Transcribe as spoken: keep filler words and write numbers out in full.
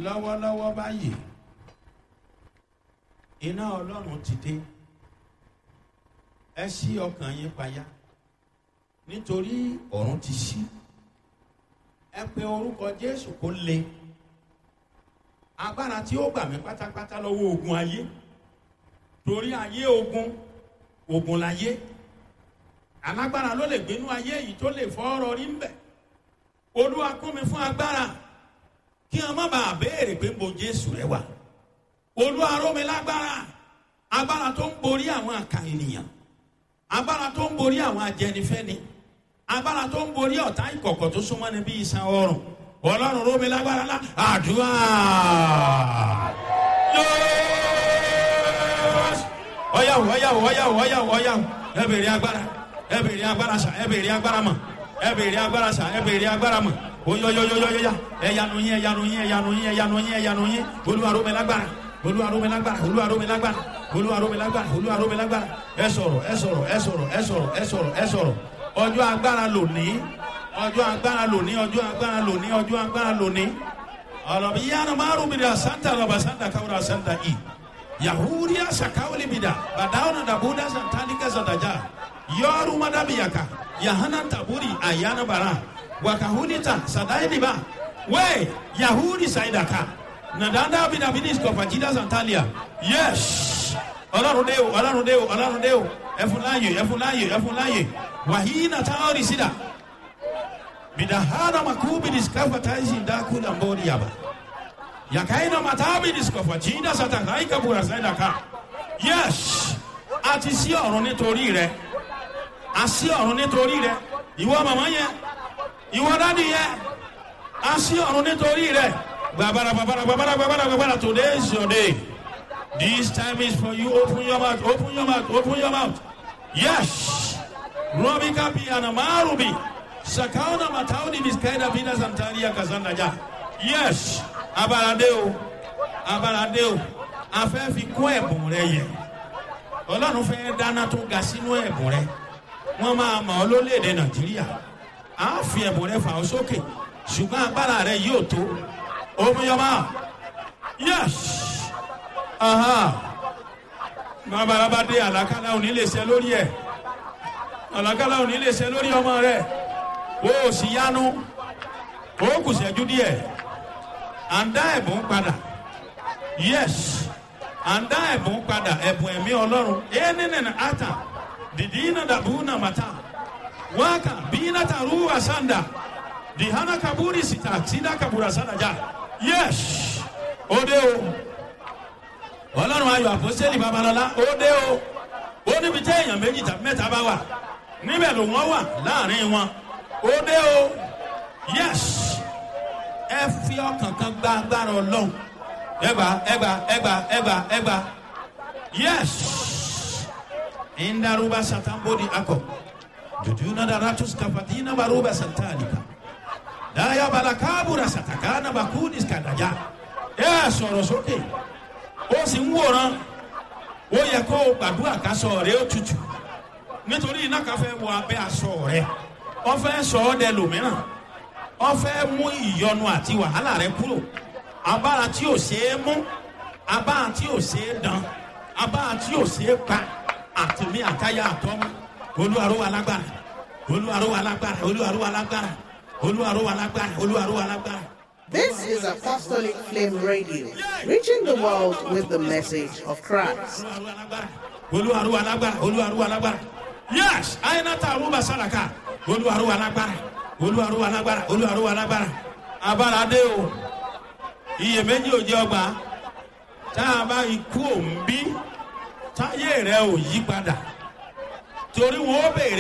Lọ́wọ́lọ́wọ́ báyìí, iná Ọlọ́run ti dé. Ẹ ṣí ọkàn yín payá, nítorí ọ̀run ti ṣí. Ẹ pe orúkọ Jésù kó le. Agbára tí ó gbà mí pátápátá lọ́wọ́ ogun ayé, torí ayé ogun, ogun láyé. Alágbára ló lè gbénú ayé yìí tó lè fọ́ ọ̀rọ̀ rí ń bẹ̀. Olúwa, kún mi fún agbára, kí wọn má bàa béèrè pé bo Jésù rẹ wà. Olúwa, ró mi lágbára, agbára tó ń borí àwọn àkà ènìyàn, agbára tó ń borí àwọn ajẹnifẹ́ni, agbára tó ń borí ọ̀tá ìkọ̀kọ̀ tó súnmọ́ ni bí iṣan ọrùn. Ọlọ́run, ró mi lágbára lá. Àdúrà. Ọ̀yàwó, ọ̀yàwó, ọ̀yàwó, ọ̀yàwó, ọ̀yàwó. Ẹ bèrè agbára, ẹ bèrè agbára sà, ẹ bèrè agbára mọ̀, ẹ bèrè agbára sà, ẹ bèrè agbára mọ̀. Oyoyoyoyoya, ẹyanu yín, ẹyanu yín, ẹyanu yín, ẹyanu yín, ẹyanu yín. Olúwa ró mi lágbára, Olúwa ró mi lágbára, Olúwa ró mi lágbára, Olúwa ró mi lágbára, Olúwa ró mi lágbára. Ẹ sọ̀rọ̀, ẹ sọ̀rọ̀, ẹ sọ̀rọ̀, ẹ sọ̀rọ̀, ẹ sọ̀rọ̀, ẹ sọ̀rọ̀. Ọjọ́ agbára lónìí, ọjọ́ agbára lónìí, ọjọ́ agbára lónìí, ọjọ́ agbára lónìí. Ọlọ́bi yára márùn mi dà santa lọ́ba santa káwúrà santa i yahudiya sakawuli mi dà bàdáwọn dàbúdà santanika santaja yọrù madabiyaka yahana taburi ayana bara wakahunita sadainiba we yahudi saidaka nadanda bidabinisko fajida santalia. Yes, Ọlọ́run dé o, Ọlọ́run dé o, Ọlọ́run dé o. Ẹfun láàyè, ẹfun láàyè, ẹfun láàyè. Wàhíínà táwọn ìsìdá bidahana makubi diskafa taisi ndakula mbori yaba yakaina matabi diskafa jinda satakaika bura saidaka. Yes, àti sí ọ̀run nítorí rẹ, àsí ọ̀run nítorí rẹ. Ìwọ màmá yẹn, ìwọ dádì yẹn, a sí ọ̀run nítorí rẹ. Gbàbàrà, gbàbàrà, gbàbàrà, gbàbàrà, gbàbàrà. Today is your day. This time is for you. Open your mouth, open your mouth, open your mouth. Yes, robika bi anamarubi sakauna matauni biskaida bina santaria kazanda ja. Yes, abalade o, abalade o. Afẹ́ fi kún ẹ̀bùn rẹ yẹ. Ọlọ́run fẹ́ dáná tó ga sínú ẹ̀bùn rẹ. Wọ́n máa mọ̀ ọ́ lólèdè Nàìjíríà. A fi ẹ̀bùn rẹ fà ọ́ sókè, ṣùgbọ́n agbára rẹ yóò tó. Omiyọba. Yes, babalaba dé. Àlàkálà òní lè ṣe lórí ẹ, àlàkálà òní lè ṣe lórí ọmọ rẹ. O ò sì yanu, o kù ṣẹ́jú díẹ̀. À ń dá ẹ̀bùn padà. Yes, à ń dá ẹ̀bùn padà, ẹ̀bùn ẹ̀mí Ọlọ́run. Ẹ̀ nínú ata dìdí iná dàbú nàmàtà waka bina taruwa sanda dihana kaburi sita sida kabura sanda ja. Yes, òde o. Ọlọ́run Ayọ̀ Àpọ́sítélì Babalọ́lá, òde o. Ó níbi tí èèyàn méjì tàbí mẹ́ta bá wà, níbẹ̀ ló wọ́n wà láàrin wọn. Òde o. Yes, ẹ fi ọkàn kan gba agbára Ọlọ́run. Ẹgbà, ẹgbà, ẹgbà, ẹgbà, ẹgbà. Yes, indaruba satambodi akọ jujuna daratus kafatina baruba santalika daya balakabura satakana bakudis kadaja. Ẹ sọ̀rọ̀ sókè, ó sì ń wòran. Ó yẹ kó o gbàdúrà kásọ rẹ ó tutù, nítorí iná kan fẹ́ wọ abẹ́ aṣọ rẹ. Wọ́n fẹ́ sọ ọ́ dẹ lòmíràn, wọ́n fẹ́ mú ìyọnu àti wàhálà rẹ kúrò. Abára tí ò ṣeé mú, abára tí ò ṣeé dán, abára tí ò ṣeé pa, àtìmí àtayá àtọ́mú. Olúwa ró wa lágbára, Olúwa ró wa lágbára, Olúwa ró wa lágbára, Olúwa ró wa lágbára, Olúwa ró wa lágbára. This is Apostolic Flame Radio, reaching the world with the message of Christ. Olúwa ró wa lágbára, Olúwa ró wa lágbára. Yes, àyìnàtà àrùbà sàràkà. Olúwa ró wa lágbára, Olúwa ró wa lágbára, Olúwa ró wa lágbára. Abára dé o, iyèméjì ò jẹ ọgbà. Tá a bá ikú òun bí táyé rẹ ò yí padà, torí wọn ó béèrè.